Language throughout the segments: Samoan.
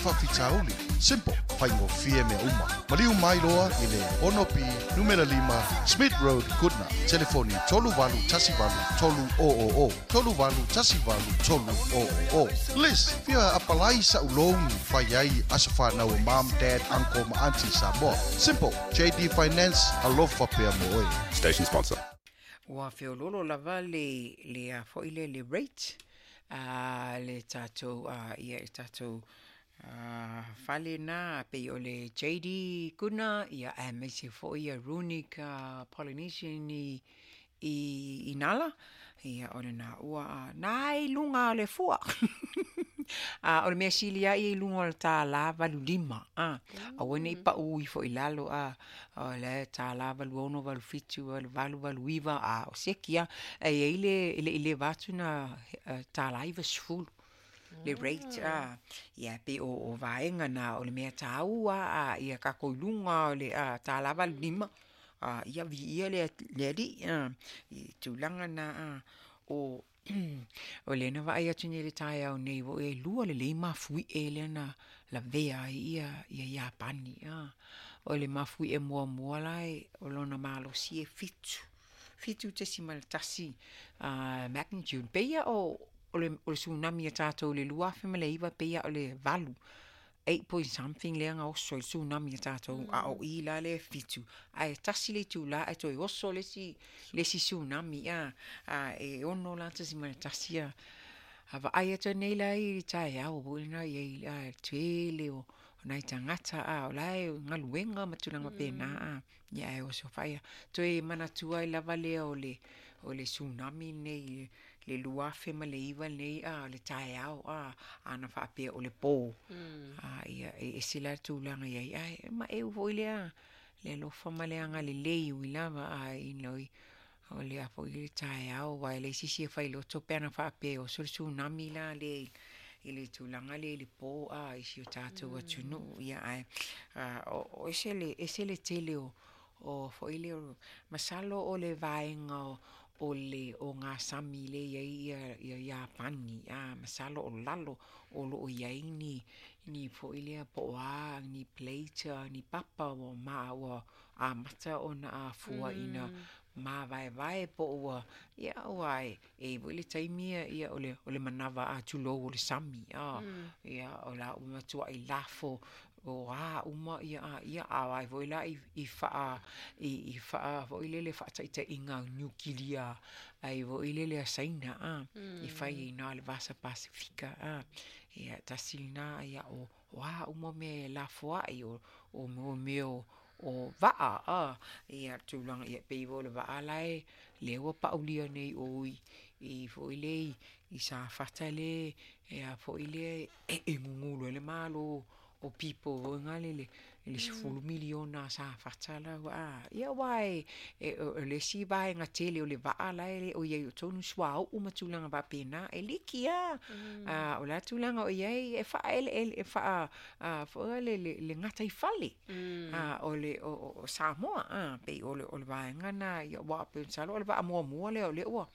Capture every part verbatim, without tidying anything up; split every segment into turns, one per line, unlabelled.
Faafitauli. Simple, faigofie mea uma. Maliu mai loa i le ono B numera lima Smith Road, Goodna. Telefoni tolu valu tasi valu tolu o o o. Tolu valu tasi valu tolu o o o. Liz, fia apalai sa'u loan fai ai aso fanau o mom, dad, uncle ma auntie Samoa. Simple, J D Finance, alofa pea mo oe.
Station sponsor.
Ua feololo lava le le a foi le le rate a le tatou a ia e tatou a fale na pei o le J D Kuna ia aemaise foi ia Runic uh, Polynesian i i, i Nala ia o le na ua na i luga o le fua a o le mea sili ai i luga o le tālā valu lima a aua nei pau ifo i lalo a o le tālā valu ono valu fitu valu valu valu iva a o seki a e i le le i le vatu na tālā iva sefulu le rate a ia pe o o vaega na o le mea tāua a ia kākou i luga o le a tālā valu lima a ia viia le le alii a i tulaga na a o o lea na vaai atu nei le taeao nei ua e lua lelei mafuie lea na lavea ai ia ia Iapani a o le mafuie muamua la e o lona malosi e fitu fitu tesimale tasi uh, magnitude peia o o le, o le tsunami a tātou le lua afe ma le iva peia o le valu eight point something lea ga oso i le tsunami a tātou a o i la le fitu ae tasi le itulā ae toe oso le isi le isi tsunami a a e ono la tesimale tasi a a vaai atu nei la i le taeao foi lena iai a tele o o nai tagata a o la e galuega ma tulaga pena a ia ae oso faia toe manatua ai lava lea o le o le tsunami nei le lua afe ma le iva nei a le taeao a ana faapea o le pō a ia e ese la le tulaga iai ae maeu foi lea le alofa ma le agalelei ui lava a inoi o lea foi le taeao aua e leai se isi e failoto pe ana faapea e oso le tsunami la le i le tulaga lea i le pō a i si o tatou atunuu ia ae o ese le ese le tele o o foi lea masalo o le vaega o o le o gasami le iai ia ia Iapani a masalo o lalo o loo iai ni ni foi lea po o a ni plate ni papa ua ma ua amata ona afua ina mavaevae po o ua ia ua e e foi le taimi ia o le o le manava a tulou o le sami a ia o la ua matuai lafo o a uma ia a ia a ai foi la i i faa i i faa foi lele faataitaiga niukilia ai foi lele a Saina a i fai ai na le Vasa Pasifika a ia tasi lena ia o o a uma mea e lafoai o o o mea o o vaa a ia tulaga ia pei foi o le vaa lae lea ua paulia nei o i i foi le i Safata le e a foi le e e gugulu ai le Malo o people foi gale le le sefulu miliona a Safata la a ia aua e o le isi vaega tele o le vaa la e le o iai o tonu suauu ma tulaga faapena e liki a a o la tulaga o iai e faaeleele e faa a foi le le le gataifale a o le o o Samoa a pei o le o le vaega na ia ua pe masalo o le vaa muamua lea o lea ua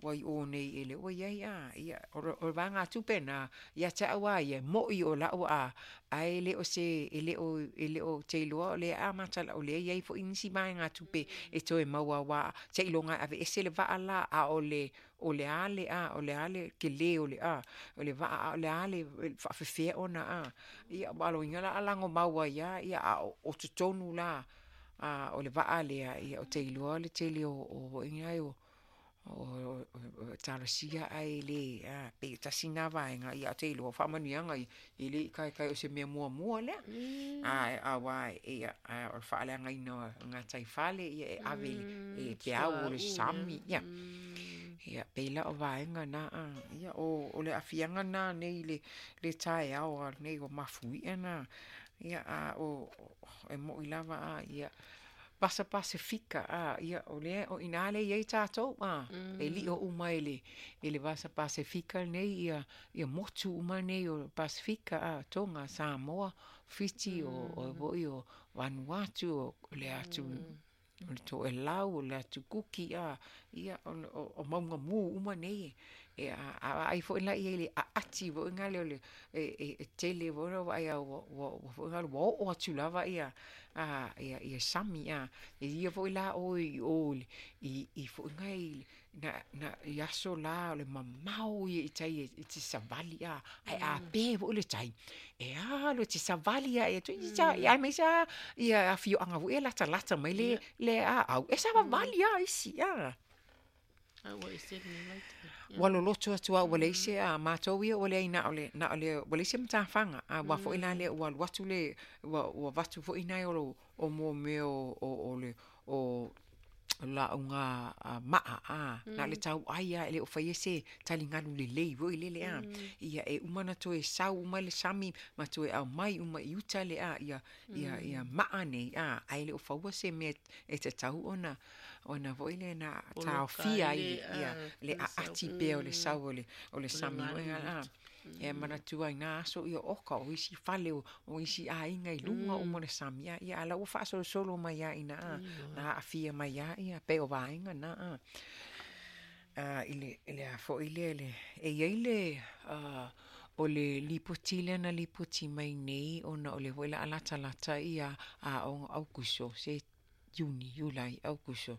ua i o nei e le ua iai a ia o le vaegatupe na ia te au a ia mo'i o lau a ae le o se e le o e le o te iloa o lea amata o lea iai foi nisi vaegatupe e toe maua aua seiloga e aveese le vaa la a o le o le a le a o le a le kelē o le a o le vaa a o le a le faafefea ona a ia ua aloina la alago mau ai a ia a o totonu la a o le vaa lea ia o te iloa le tele o o o o talosia ae le a pei tasi na vaega ia o te iloa faamanuiaga e le i kaekae o se mea muamua lea a aua ia o le faaleagaina o gataifale ia e ave e peau o le sami ia ia pei la o vaega na a ia o o le aafiaga na nei le le taeao nei o mafuia na ia a o e mo'i lava a ia Vasa Pasifika a ia o lea o ina le iai tātou a e lio uma e le e le Vasa Pasifika nei ia ia motu uma nei o Pasifika a Tonga Samoa Fiti o o foi o Vanuatu o le atu o le Toelau o le atu Kuki a ia o, o, o maunga mu uma nei E a ai foi la ia le ati foi ngale o le e e tele foi la ai ua ua foi ngale ua oo atu lava ia a ia ia sami a e ia foi la o i o i i foi ngai na na i aso la o le mamao ia i tai e te savali a ai a pe foi le tai e alo e te savali a e tu i sa ia mai sa ia afioaga foi e latalata mai le le aau e savavali a isi a.
A ua ese lenei vaitau.
Ua loloto atu au ua leai se a matou ia ua leai na o le na o le ua leai se matafaga a ua foi la lea ua alu atu le ua ua avatu foi nai o lo o mo mea o o o le o lauga maa a na le tau ai a e le o faia se taligalu lelei foi lele a ia e uma ona toe sau uma le sami ma toe aumai uma i uta le a ia ia ia maa nei a ae le o faua se mea e tatau ona ona foi le na taofia ai ia le aati pea o le sau o le o le sami foi a e manatua i nā aso ia oka o isi fale o, o isi aiga i luga uma o le sami a ia ala ua faasolosolo mai ai ina a na aafia mai ai ia pei o vaega na a a i le i le a foi lea le e iai le uh, o le lipoti lea na lipoti mai nei ona o le foi la latalata ia aoga Aukuso se Iuni, Iulai, Aukuso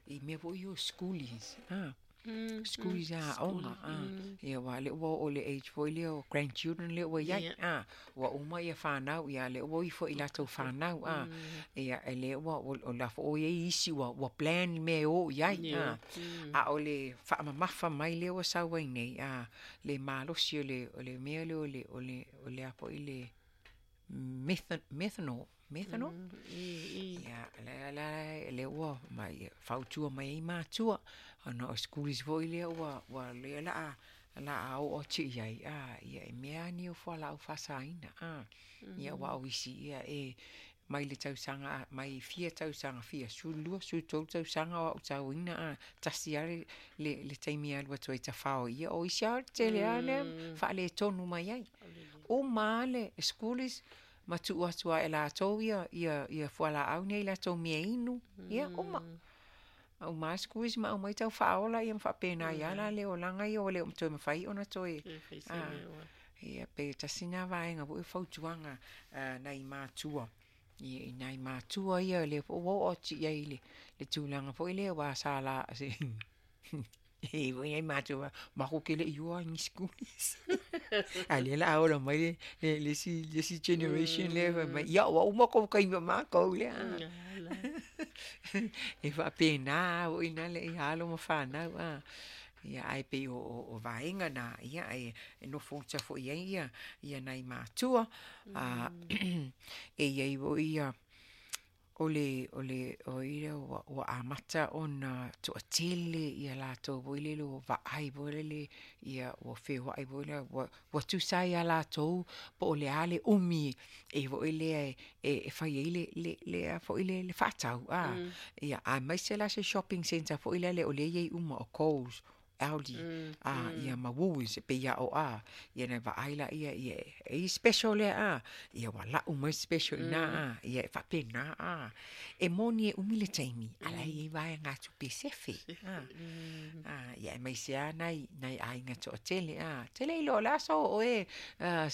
i mea foi o schoolies a schoolies a aoga a ia ua le ua oo i le age foi lea o grandchildren lea ua iai a ua uma ia whanau ia le ua ifo i latou whanau a ia e le ua o la fo o iai isi ua ua plan mea e o i ai a a o le faamamafa mai lea ua sau ai nei a le malosi o le o le mea lea o le o le o le a foi le methan methanol methanol ia la la le ua mai fautua mai ai matua ona o schoolies foi lea ua ua lea la a la a oo atu i ai a ia e mea ni o fualaau faasaina a ia ua o isi ia e mai le tausaga mai fia tausaga fia sefululua sefulutolu tausaga o autauina a tasi lava le le le taimi e alu atu ai tafao ia o isi lava tele lava lea faaletonu mai ai uma lava le schoolies ma tuu atu lava e latou ia ia ia fualaau nei latou mea inu ia uma uma lava schoolies ma aumai tau faaola ia ma faapena ai lava la le olaga ia ua le toe mafai ona toe a ia pe tasi na vaega foi o fautuaga nai matua ia i nai matua ia lea foi ua oo atu i ai i le le tulaga foi lea ua sa la se e foi nai matua makou ke le i o ni schoolies a lea la a ola mai le le le isi le isi generation lea fai mai ia ua uma kou taimi o makou lea e faapena foi na le ia alo ma fanau a ia ae pei o o o vaega na ia e e nofo uta foi ai ia ia nai matua a e iai foi ia o le o le o ia ua ua amata ona toatele ia latou foi lele ua vaai foi lele ia ua feoai foi lea ua ua tusa ai ia latou po o le a le umi e foi lea e e fai ai le le le a foi le le faatau a ia aemaise la se shopping centre foi lele o lea e iai uma o Coles, Aldi a ia ma Woolworths e pei a o a ia na vaai laia ia e i special lea a ia ua lau mai special i na a ia e faapena a e moni e umi le taimi a la e iai vaegatupe sefe a a ia aemaise lava nai nai aiga toatele a tele iloa o le a so oo e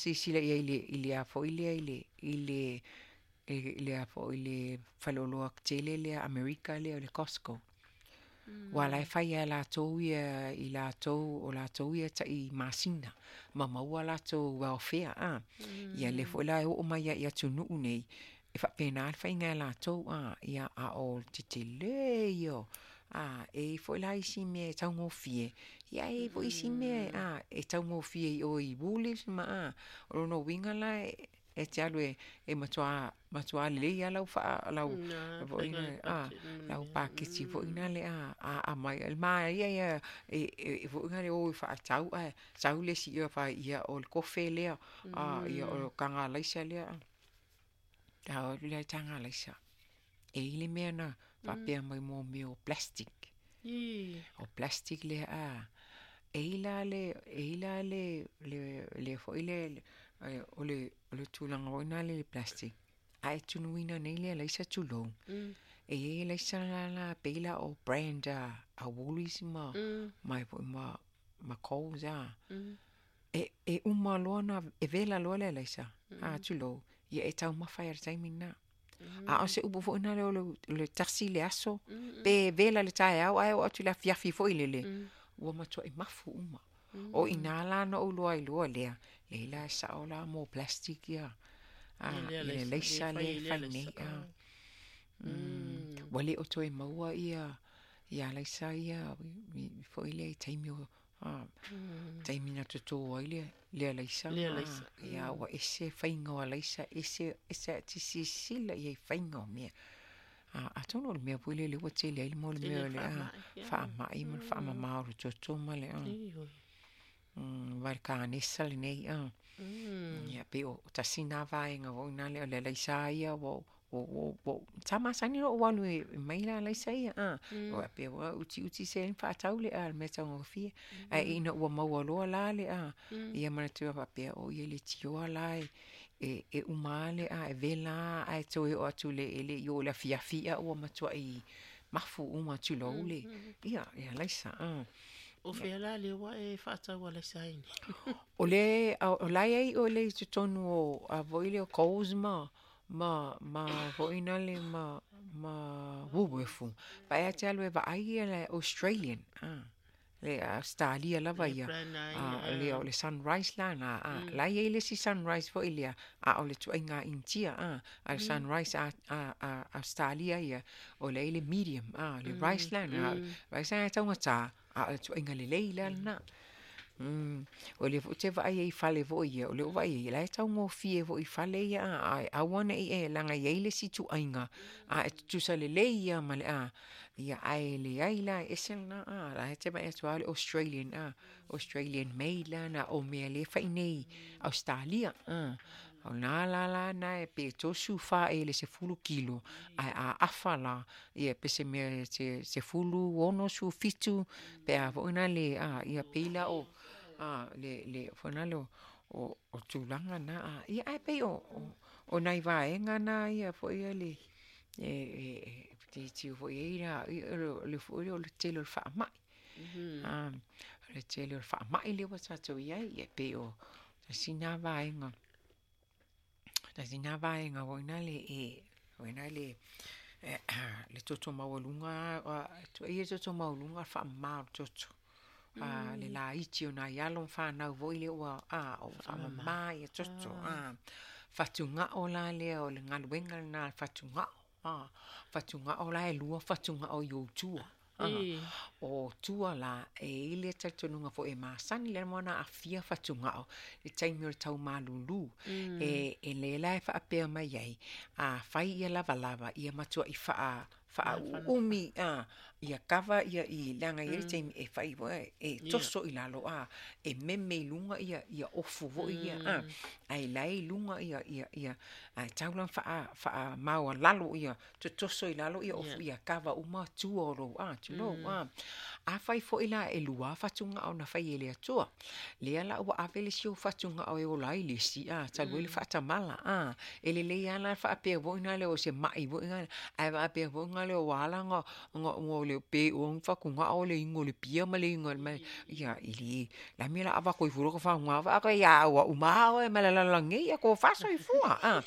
silasila i ai i le i le a foi lea i le i le i le a foi le faleoloa tele lea Amerika lea o le Costco. Ua la e fai lava e latou ia i latou o latou ia tai masina ma maua latou welfare a. Ia lea foi la e oo mai ai i atunuu nei, e faapena le faiga e latou a. Ia a o le tetele ia o a e i ai foi la isi mea e taugofie, ia e i ai foi isi mea a e taugofie i o i Woolies ma a. O lona uiga la e e te alu e e matua matua lelei lava lau faa lau foi a lau paketi foi lale a a aumai le manaia ia e e foi lale o e faatau ae sau le isi ia fai ia o le kofe lea a ia o le taga alaisa lea a o atu lea i taga alaisa e i ai le mea na faapea mai mo mea o plastic. O plastic lea a e i ai la le e i ai la le le le foi le o le o le tulaga foi lena i le plastic a e tunuina nei le alaisa tulou e i ai alaisa la la pei la o brand a a Woolies ma ma foi ma ma Coles a. E e uma loa ona e vela loa le alaisa, a tulou, ia e taumafa ai i le taimi lena. A o se upu foi lena o le, o le tasi le aso, pe vela i le taeao ae oo atu i le afiafi foi lele, ua matuai mafu uma. O i ina la na ou iloa ai loa lea, leai la e sao la mo plastic ia, a, i le alaisa lea e fai nei. A. Ua le o toe maua ia ia alaisa ia foi lea i taimi o a, taimi na toto ai le le alaisa
Le
ma
alaisa.
ia ua ese faiga o alaisa, ese ese a te silasila i ai i faiga o mea. A, atonu o le mea foi lea lea ua tele ai le mo le
Tele
mea o le a,
faamai, ia.
faamai ma le faamama o le toto ma le a.
Ioe.
Mm, va le kanesa lenei a. Ia pei o tasi na vaega foi na lea o le alaisa ia ua ua ua sa masani ona ou alu e mai le alaisa ia a. O faapea ua utiuti se faatau le a le mea taugofie. Ae ina ua maua loa la le a, ia manatua faapea o ia leitioa la e e e uma lava le a e vela lava ae toe oo atu i le e le i oo i le afiafi a ua matuai mafu uma tulou le ia le alaisa a.
O fea la lea ua e faatau alaisa ai nei?
O le o la e i ai o le i totonu o a foi lea o Coles ma ma ma foi nale ma ma Woolworths. Vaai lava te alu e vaai ia le Australian a, le Ausetalia lava
Le
ia.
brand ai,
A, lea o le Sunrise la na a. La e i ai le isi Sunrise foi lea, a o le ituaiga Initia a. A o le Sunrise a a a Ausetalia ia, o lea e i ai le medium a, le rice la na. Rice lena e taugata, a o le ituaiga lelei la lena. Mm. O lea foi ou te vaai ai i fale foi ia, o lea ua vaai ai, la e taugofie foi i fale ia a, ae aua ne i e leaga e i ai le isi ituaiga, a e tutusa lelei lava ma le a, ia ae leai la e ese lena a, la e te vaai atu lava o le Australian a, Australian made la na, o mea lea e fai i Ausetalia a. O lena la la na e pe tolusefulu fa ea i le sefulu kilo, ae a afa la, ia pe se mea se sefulu ono fitu pe a foi na le a, ia pei la o a le le foi na le o o tulaga na a. Ia ae pei o o nai vaega na ia foi ia le e e tilotilo foi i ai la o le foi lea o le tele o le faamai. A, o le tele o le faamai lea ua tatou i ai, ia pei o tasi na vaega, tasi na vaega foi lea e foi lea le toto maualuga, tuuaia le toto maualuga o le faamama o le toto. A, le laiti o nai alo ma fanau foi lea ua a, ua faamama ia toto. A, fatugao la lea o le galuega lena a le fatugao. A, fatugao la e lua fatugao i ou tua. A, o tua la, e i ai le talitonuga foi e masani le ma ona aafia fatugao i le taimi o le tau malulu. E e lea la e faapea mai ai, a fai ia lavalava, ia matuai faa faauuumi a, ia kava ia i leaga e i ai le taimi e fai foi e toso i lalo a, e meme i luga ia ia ofu foi ia a, ae la e i luga ia ia ia ae tau la ona faamaualalo ia totoso i lalo ia ofu ia kava uma tua o lou a, tulou a. Afai foi la e lua fatugao na fai e le Atua, lea la ua ave le isi ou fatugao e ola ai le isi a, talu ai le faatamala a, e lelei lava la le faapea foi lea o se mai foi lea, ae faapea foi lea ua ala ona ona le pe ua fatugao le igo o le pia ma le igo o le ia e le la mea o le a avatu ai fua lota faguga a ia ua uma oe ma le lalolagi nei ia tofa soifua a.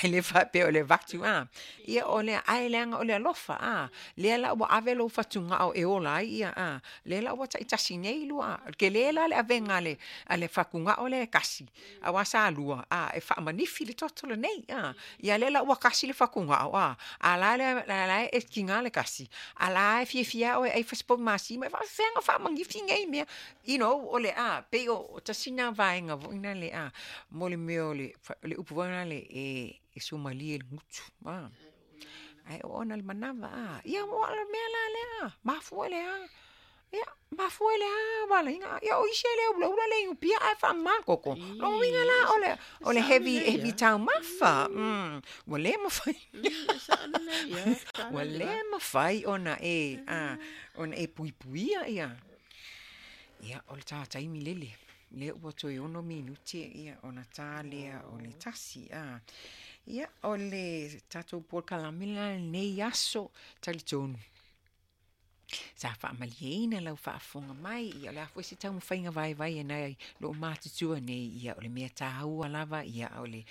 Ae le faapea o le avatu a. Ia o le ae leaga o le alofa a. Lea la ua ave lou fatugao e ola ai ia a. Lea la ua taitasi nei lua a. Tele la le avega a le a le fatugao lea e tasi, aua sa lua a e faamanifi le toto lenei a. Ia lea la ua tasi le fatugao a, a la la la e tiga le tasi, a la e fiafia oe e ai se povi masima, e faafefea ona faamanifi nei mea. You know, o le a, pei o tasi na vaega foi na le a, mo le mea o le le upu foi lea e e suamalie i le gutu a. Ae oo ona le manava a, ia ua o le mea la lea, mafua i le a? Ia, mafua i le a ua ala ai ona, ia o isi e le ulaula le inupia ae faamama le toto. Lona uiga la o le o le heavy heavy taumafa. Mm, ua le mafai. Ua le mafai ona e a, ona e puipuia ia. Ia, o le ta taimi lele, lea ua toe ono minute ia ona ta lea o le tasi a. Ia, o le tatou polokalame la lenei aso, talitonu. Sa faamalieina lau faafofoga mai, ia o le a foi se taumafaiga vaivai e nai loo matutua nei, ia o le mea taua lava, ia o le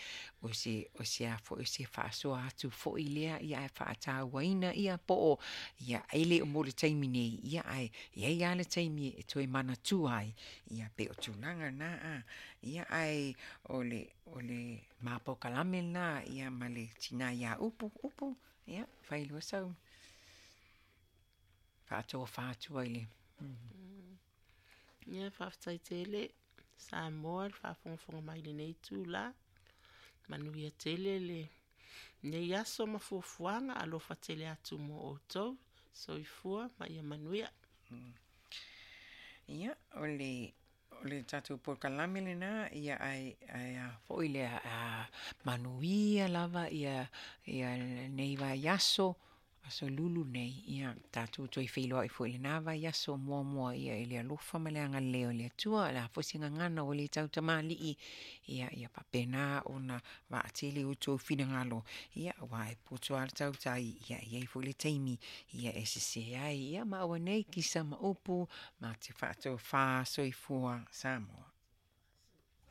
o se o se a foi o se faasoa atu foi lea, ia ae faatauaina ia po o ia e le o mo le taimi nei, ia ae i ai lava le taimi e toe manatua ai, ia pei o tulaga na a. Ia ae o le o le mapaukalame lena ia ma le tina ia Upu, Upu, ia fai loa sau faatofa atu ai le.
Ia faafetai tele Samoa le faafogafoga mai i lenei itulā. Manuia tele lenei aso ma fuafuaga, alofa tele atu mo outou. Soifua ma ia manuia.
Ia, o le o le tatou polokalame lena, ia ae ae a foi lea a manuia lava ia ia lenei vaiaso aso lulu nei, ia tatou toe feiloai foi i lena vaiaso muamua, ia i le alofa ma le agalelei o le Atua. O le a foi se gagana ua le tautamalii, ia ia faapena ona vaatele outou finagalo, ia aua e poto lava le tautai, ia e i ai foi le taimi ia e sese ai, ia ma aua nei kisa ma upu ma te faatofa. Soifua Samoa.